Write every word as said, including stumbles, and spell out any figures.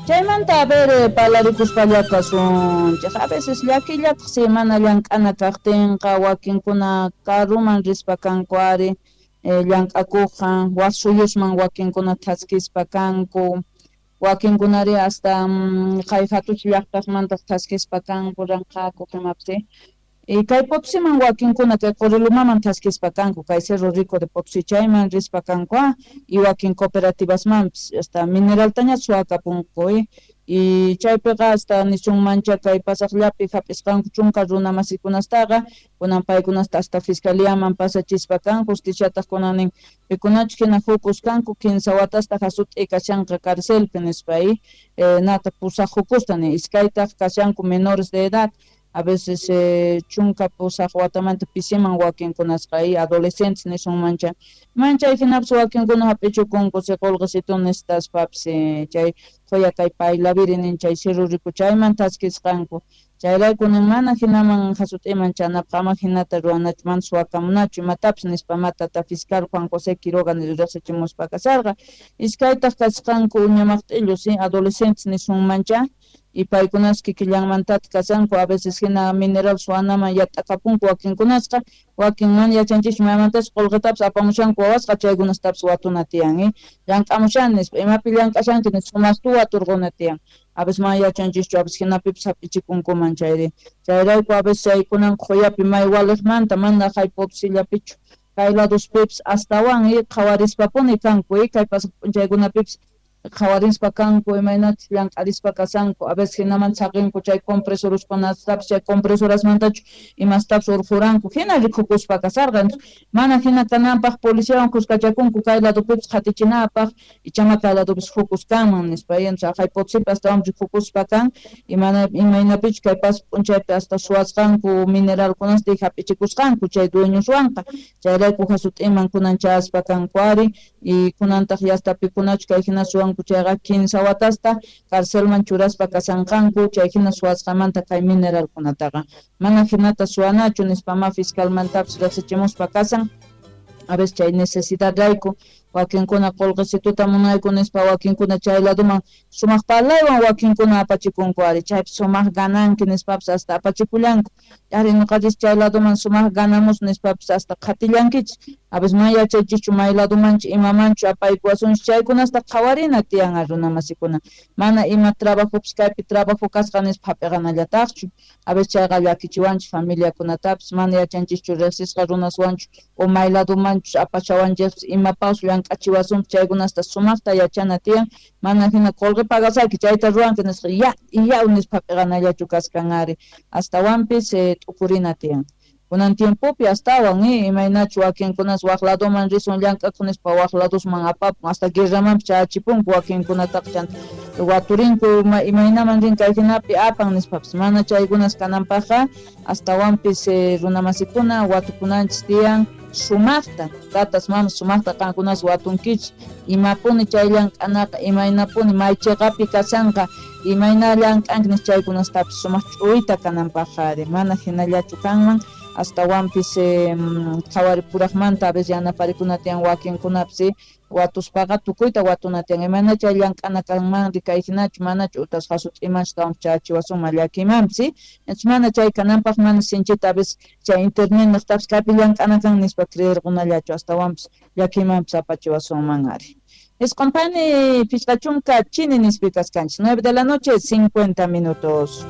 Chaymanta a ver parlarikuspallakasunchik, a veces llakillataq si mana llank'ana kaqtinqa wakinkuna karuman rispa kanku ari llank'akuqqa wak suyusman wakinkuna thaskispa kanku, wakinkunari hasta kay hatuch llaqtasmantaq thaskispa kanku ranqakuq imapis. Y kay Potosiman wakinkuna kay Qorilumaman thaskispa kanku, kay Cerro Rico de Potosí chayman rispa kanku y wakin cooperativasmanpis hasta mineraltaña suwakapunku y chaypiqa hasta nisunmancha kay pasaqllapi hap'isqanku chunka runa masikunastaqa kunan paykunasta hasta fiscaliaman pasachispa kan, justiciataq kunan nin pikunachu hina hukus kanku kinsa watasta hasut'i kashanqa carcelpi nispa y nata pusaq hukusta nin iskaytaq kashanku menores de edad. A veces eh, chunka pusaq watamanta pisiman wakinkunasqa y adolescentes nisunmancha manchay hinapis wakinkuna hap'ichukunku si qullqisitu nishtaspapis chay quya kay Paylaviri nin chay Cerro Rico chayman thaskisqanku chayrayku nin mana hinaman hasut'iman chanapaq ama hinata ruwanachu mana suwakamunachu imatapis nispa matata fiscal Juan José Quiroga riqsichimuspa kasarqa iskaytaq kasqanku uñamaqt'illu si adolescentes nisunmancha y paykunas kikillanmantataq kashanku a veces hina mineral suwanaman yat'akapunku wakinkunasqa wakin mana yachanchischu maymantachu qullqitapis apamushanku wawasqa chaykunastapis watuna tiyan eh llank'amushani nispa imapi llank'ashanki nispa sumaqtu waturquna tiyan a veces mana yachanchischu a veces hinapipis hap'ichikunkuman chayri chayrayku a veces chaykunan qhuyapi may waliqmanta mana hay Potosillapichu kay ladospipis astawan eh qhawarispapuni kanku eh kay pasaq p'unchaykunapipis qhawarispa kanku imaynachus llank'arispa kashanku a veces hinaman saqinku chay compresoraskunatapis chay compresorasmantachu imastapis urquranku hina rikukuspa kasarqa mana hina kananpaq policiawan kuskachakunku kay ladopipis qhatichinapaq ichama kay ladopis hukus kanman nispa entonces haqay Potosipi astawan rikukuspa kan imana imaynapichu kay pasaq p'unchaypi hasta suwasqanku mineralkunasta y hap'ichikusqanku chay dueñoswanqa chayrayku hasut'iman kunan chayaspa kanku ari y kunantaq yasta pikunachu kay hina suwanku chayqa kinsa watasta carcelman churaspa kasanqanku chay hina suwasqamanta kay mineralkunataqa mana hinata suwanachu nispa ma fiscalmantapis riqsichimuspa kasan a veces chay necesidad rayku wakinkuna qullqisituta munayku nispa wakinkuna chay laduman sumaq parlaywan wakinkuna apachikunku ari chaypi sumaq gananki nispapis hasta apachikullanku ari ñuqanchis chay laduman sumaq ganamus nispapis hasta qhatillankichis a veces mana yachaychischu may ladumanchu imamanchu apaykuwasunchis chaykunasta qhawarina tiyan runa masikuna mana ima trabajopis kaypi trabajo kasqa nispa hap'iqanallataqchu a veces chayqa llakichiwanchis familiakunatapis mana yachanchischu riqsisqa runaswanchu o may ladumanchus apashawanchis imapaus llank'achiwasunpis chaykunasta sumaqta yachana tiyan mana hina qullqi pagasayki chayta ruwanki nisqa ya ya nispa hap'iqanallachu kaskan ari astawanpis eh, t'ukurina tiyan kunan tiempopi astawan eh, imaynachu wakinkunas wak laduman risun llank'akuq nispa wak ladusman apapun hasta guerramanpis chayachipunku wakinkunataqa chanta waturinku imaynaman rin kay hinapi apan nispapis mana chaykunas kananpaqqa astawanpis eh, runamasikuna watukunanchis tiyan sumaqta tatas mamas sumaqta qankunas watunkichis imapuni chay llank'anaqa imaynapuni may chiqapi kashanqa imayna llank'anki nispa chaykunastapis sumaq ch'uyta kananpaqqa ari mana hinallachu kanman astawanpis eh, qhawaripuraqmanta a veces yanaparikuna tiyan wakinkunapis watuspaqa tukuyta watuna tiyan imayna chay llank'ana kanmanri kay hinachu manachu utas hasut'imanchu astawan chayachiwasunman llakimanpis entonces mana chay kananpaq mana sinchita a veces chay internet niqtapis kaypi llank'ana kan nispa creerqunallachu astawanpis llakimanpis apachiwasunman ari. Isqun pani pichqa chunka chini nispi kaskanchis nueve de la noche cincuenta minutos.